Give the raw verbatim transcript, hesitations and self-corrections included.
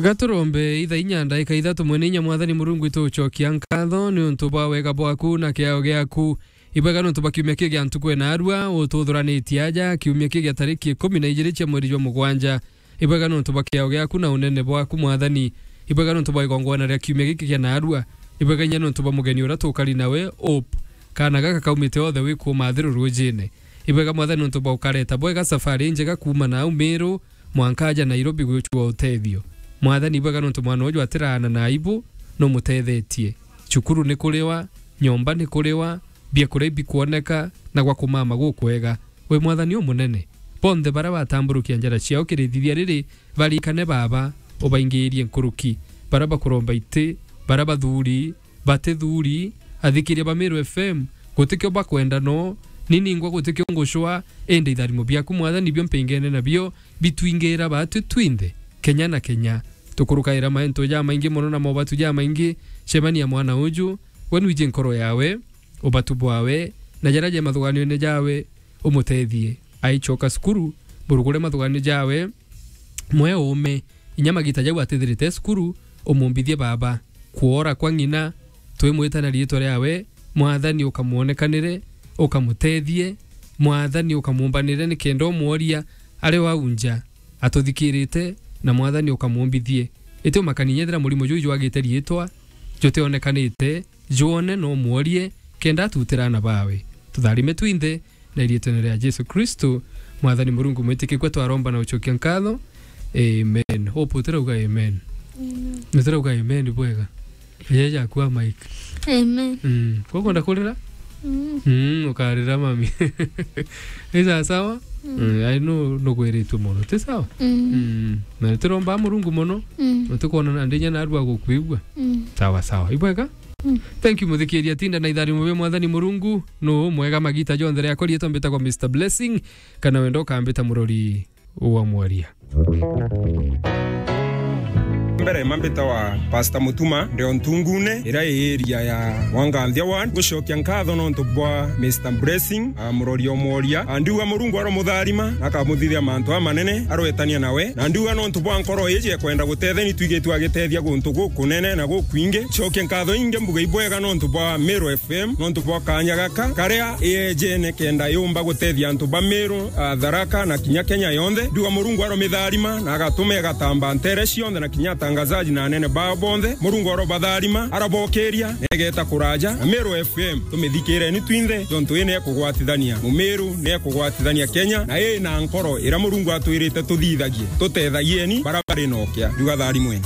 Gaturombe ithaa inya ndaika ithatu. Mwene inya Mwathani Murungu, itugucokia nkatho niuntu bwa wega bwaku na kiao giaku. Ibwega niuntu bwa kiumia kiu gia ntuku ena arua, ututhuranitie aja, kiumia kiu gia tariki ikumi na ijiri cia mweri jwa mugwanja. Ibwega niuntu bwa kiao giaku na unene bwaku, Mwathani. Ibwega niuntu bwa igongwana ria kiumia giki kia naarua. Ibwega inya niuntu bwa mugeni uria tukari nawe, Hope. Kaana gaka kaumite othe wi kuuma Athiru rujine. Ibwega, Mwathani, niuntu bwa ukareta bwega safari injega kuuma nau Miru mwanka aja Nairobi gwicua utethio. Mwathani, ibwega niuntu mwana uju atiraana na aibu, numutethetie. Cukuru ni kuriwa, nyomba ni kuriwa, biakuria ibikwoneka, na gwa kumama gukwega. Wi Mwathani umunene. Bonthe baria batamburukia njara ciao kirithithia riri, barikane, Baba, ubaingiirie nkuruki. Baria bakuromba iti, baria bathuri, batithuri, athikiria ba Meru F M, gutikio bakwenda no, ni ningwa gutikio ngucwa, indi itharimo biaku, Mwathani, nibio mpingene nabio, bitwingira batwi twinthe, kenya na kenya. Tukurukaira mantu jamaingi mono na mobatu jamaingi, cemania mwana uju, we nwiji nkoro yawe, ubatu bwawe, na jaria je mathuganio-ini jawe, umutethie. Aicoka cukuru, murugure mathuganio jawe, mwe uume, inya magita jau atithirite cukuru, umumbithie, Baba. Kwora kwa ng'ina, twimwita na riitwa riawe, Mwathani, ukamwonekanire, ukamutethie, Mwathani, ukamumbanire, nikenda umworia ari o au nja atuthikirite, na Mwathani, ukamumbithie. Iti umakani, nyethira murimo juu jwagite riitwa, jutionekanite, jwone, no umworie, kenda atutire aana bawe. Tutharime twinthe, na iriitwene ria Jesu Kristo, Mwathani Murungu mwitikikua, twaromba na ucokia nkatho. Amen. Hope, utirauga amen? Amen. Utirauga amen bwega? Yeye jakua mic. Amen. Mm. Kwa kwenda kurira? Mm. Mm, ukarira mami. Ni sawa sawa? Mm. Mm, I know nugwiritue mono. Ti sawa? Mm. Mm. Na turomba Murungu mono. Mm. Na tukwona na ndinya narua gukwigua. Mm. Sawa sawa. Ibwega? Mm. Thank you, muthikiria. Tinda na itharimo bia Mwathani Murungu. Nu mwega magita jonthe riakwa, riitwa mbitagwa Mister Blessing, kana wenda ukambita murori wa mworia. Mbere mambita wa Pastor Mutuma, ndio Ntungune, iria i area ya Wanganthia Ward. Gucokia nkatho nontu bwa Mister Blessing, a, murori o mworia. A, ndiuga Murungu aromutharima, na akamuthithia mantu amanene, arwetania nawe. Na ndiuga nontu bwa nkoro iji ekwenda gutetheni, twigitwe agitethia guntu gukunene na gukwingi. Cokia nkatho ingi mbuge ibwega nontu bwa Meru F M, nontu bwa kanya gaka, karia iyejene kenda yumba gutethia antu ba Meru, a, Tharaka na kinya Kenya yonthe. Ndiuga Murungu aromitharima na agatuma igatamba ntere cionthe na kinya atangazaji na anene bao bonthe. Murungu arobatharima, arabokiria, na igeta kuraja. Na Meru F M, tumithikireni twinthe, jontu ii niekugwatithania Mumiru, niekugwatithania Kenya, na ii na nkoro iria Murungu atwirite tuthithagie. Tutethagieni bara bari nokia. Ndiuga tharimweni.